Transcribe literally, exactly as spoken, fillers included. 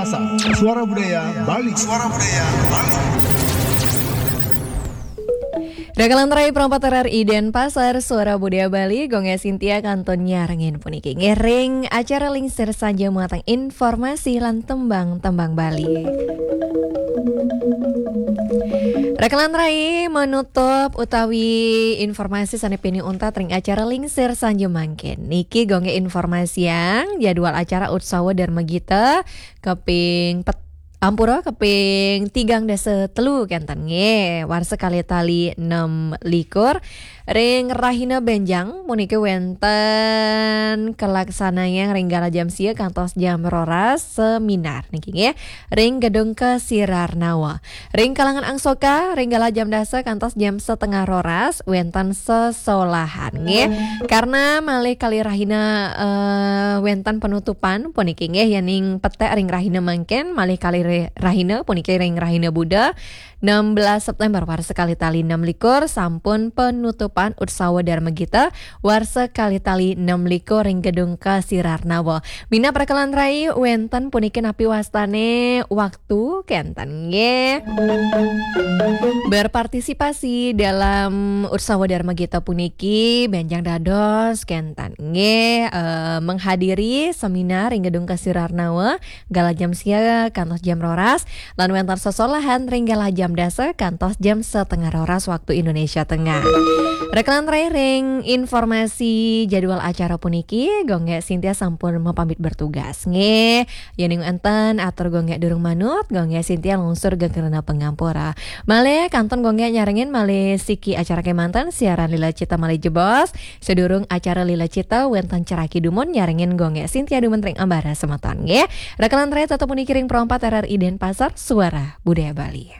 Suara Budaya Bali. Suara Budaya Bali. Rakalan rai perempat R R I Denpasar, Suara Budaya Bali, Gongge Sintia kantun nyarengin puniki. Ngiring acara Lingsir Sanja muatan informasi lan tembang-tembang Bali. Rakalan rai, menutup utawi informasi sane pinih untat ring acara Lingsir Sanja mangkin. Niki Gongge informasiang jadwal acara Utsawa Dharma Gita keping pet-, ampura, keping tigang dasa telu kenten nggih, warsa kalih tali enam likur. Ring rahina benjang puniki wenten kalaksanayang ring galah jam sia kantos jam roras seminar niki nggih, ring Gedung Kesirarnawa. Ring kalangan angsoka ring galah jam dasa kantos jam setengah roras wenten sesolahan nggih. Karena malih kalih rahina, eh, wenten penutupan puniki nggih, yening petek ring rahina mangkin malih kalih re-, rahina puniki ring rahina Buda enam belas September warsa kalih tali enam likur sampun penutupan Utsawa Dharma Gita warsa kalih tali enam likur ring Gedung Kesirarnawa. Minab rakalan rai wenten puniki napi wastane waktu kenten nggih. Berpartisipasi dalam Utsawa Dharma Gita puniki benjang dados kenten nggih, eh, menghadiri seminar ring Gedung Kesirarnawa galah jam sia kantos jam roras, lan wenten sesolahan ring galah jam dasa kantos jam setengah roras waktu Indonesia Tengah. Rakalan rai ring informasi jadwal acara puniki, Gongge Sintia sampun mapamit bertugas nggih. Yening enten atur Gongge durung manut, Gongge Sintia lungsur geng rena pangampura. Malih kantun Gongge nyarengin malih siki acara kemanten siaran Lila Cita malih jebos. Sedurung acara Lila Cita wenten ceraki dumun nyarengin Gongge Sintia dumun ring ambara semeton nggih. Rakalan rai tetep puniki ring Pro empat R R I Denpasar, Suara Budaya Bali.